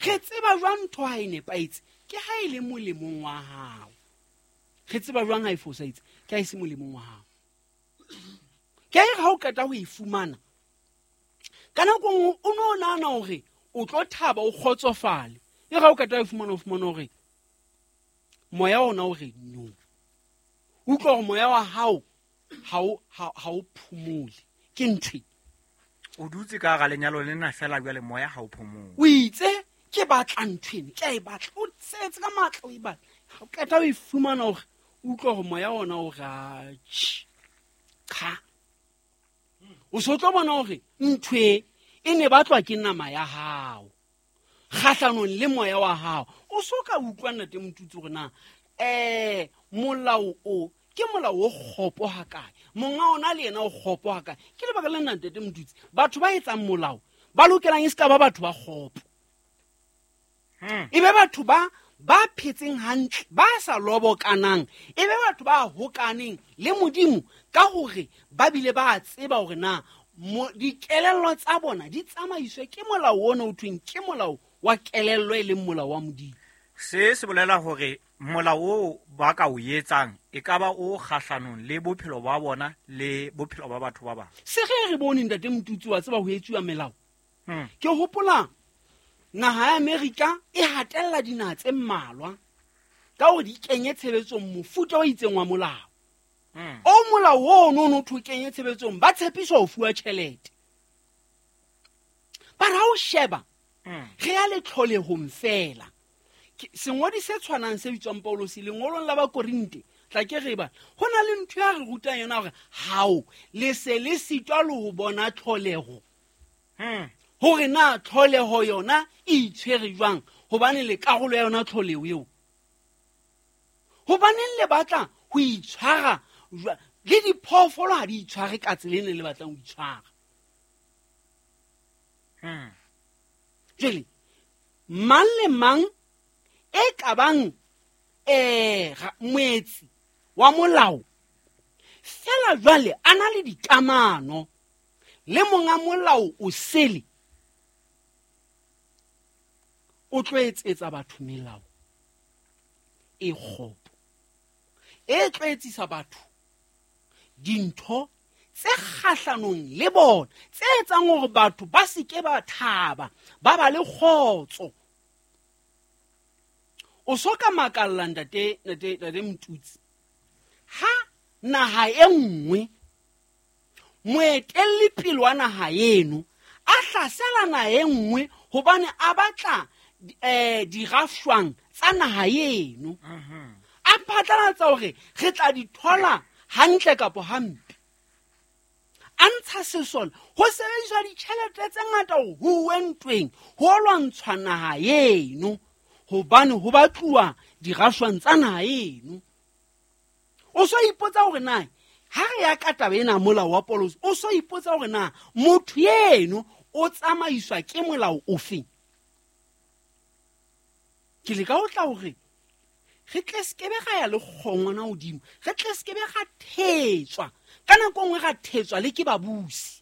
Re tseba jwang ntho ha e nepahetse? Ke ha e le molemong wa hao. Re tseba jwang ha e fosahetse? Ke ha e se molemong wa hao. Ke ha e re ha o qeta ho e fumana, ka nako nngwe o ne o nahana hore o tlo thaba, o kgotsofale. E re ha o qeta ho e fumana, o fumana hore moya ona o re no. Utlwa hore moya wa hao ha o phomole. Ke ntho e. O dutse ka hara lenyalo lena fela jwale moya ha o phomole. O itse ke batla ntho ena, ke a e batla. O tsetse ka matla o e batla. Ha o qeta o e fumana hore o utlwa hore moya ona o re, atjhe, cha. O so tlo bona hore ntho e, e ne batlwa ke nama ya hao kgahlanong le moya wa hao. O so ka utlwa Ntate Motutsi hore na, molao o ke molao o kgopo hakae, monga ona le yena o kgopo hakae. Ke lebaka le nna Ntate Motutsi, batho ba etsang molao ba lokelang e se ka ba batho ba kgopo. E be batho ba phetseng hantle, ba sa lobokanang, e be batho ba hokaneng le Modimo ka hore ba bile ba tseba hore na dikelello tsa bona di tsamaiswe ke molao ona o thweng ke molao wa kelello e leng molao wa Modimo. Se se bolela hore molao oo ba ka o etsang e ka ba o kgahlanong le bophelo ba bona le bophelo ba batho ba bang. Se ge re bone Ntate Motutsi wa tseba ho etsuwa melao. Ke hopola naha ya Amerika e hatella dinaha tse mmalwa ka hore di kenye tshebetsong mofuta o itseng wa molao. O molao oo no no thwe kenye tshebetsong, ba tshepiswa ho fuwa tjhelete. Ba re ha o sheba, re ya le tlholehong fela. Sengodi se tshwanang se bitswang Paulus lengolong la Bakorinte, tla ke re ba, ho na le ntho ya re rutang yona hore hao le se le sitwa le ho bona tlholeho. Hore na tlholeho yona e itshwere jwang, hobane le karolo ya yona tlholeho eo. Hobaneng le batla ho itshwara jwa-, le diphoofolo ha di itshware ka tsela e ne le batlang ho itshwara. Jwale, mang le mang e ka bang, moetsi wa molao, fela jwale a na le dikamano le monga molao o sele, o tlo etsetsa batho melao e kgopo, e tlo etsisa batho dintho tse kgahlanong le bona, tse etsang hore batho ba se ke ba thaba, ba ba le kgotso. O so ka makalla ntate Motutsi, ha naha e nngwe moetelli pele wa naha eno a hlasela naha e nngwe hobane a batla, dirafshwang tsa naha eno. A phatlalatsa hore re tla di thola hantle kapo hampe. A ntsha sesole, ho sebediswa ditjhelete tse ngata ho huwe ntweng, ho lwantshwa naha eno, hobane ho batluwa dirafshwang tsa naha eno. O so ipotsa hore na ha re ya ka taba ena molao wa Paulus, o so ipotsa hore na motho eno o tsamaiswa ke molao ofe. Ke leka ho tla hore re tle se kebe ra ya le kgongwana hodimo, re tle se kebe ra thetswa. Ka nako nngwe ra thetswa le ke babusi.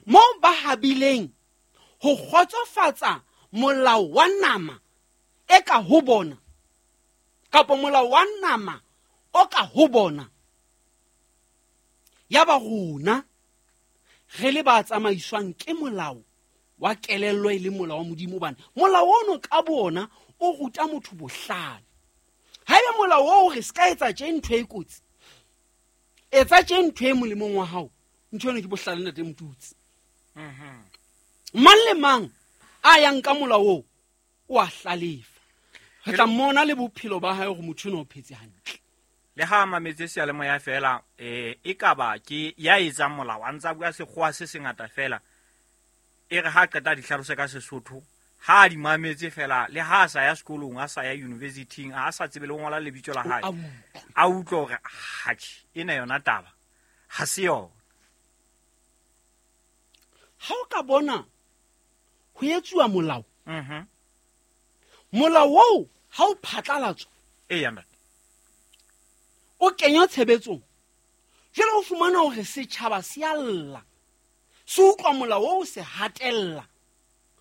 Moo ba habileng ho kgotsofatsa molao wa nama e ka ho bona, kapa molao wa nama o ka ho bona, ya ba rona re le ba tsamaiswang ke molao wa kelello e le molao wa Modimo, hobane molao ono ka bona o ruta motho bohlale. Haeba molao oo re se ka etsa tje ntho e kotsi, etsa tje ntho e molemong wa hao, ntho eno ke bohlale Ntate Motutsi. Mang le mang a yang ka molao oo o a hlalefa. Re tla mmona le bophelo ba hae hore motho eno o phetse hantle. Le ha a mametse seyalemoya fela, e ka ba ke ya etsang molao, a ntse a bua sekgowa se sengata fela, e re ha qeta di hlalose ka Sesotho, ha a di mametse fela, le ha a sa ya sekolong, a sa ya university-ing, a sa tsebe le ho ngola lebitso la hae, A utlwe. a utlwe hore, hatjhe, ena yona taba ha se yona. Ha o ka bona ho etsuwa molao, molao oo ha o phatlalatswa, Eya, ntate. o kenywa tshebetsong, jwale o fumana hore setjhaba se a lla, se utlwa molao oo se hatella.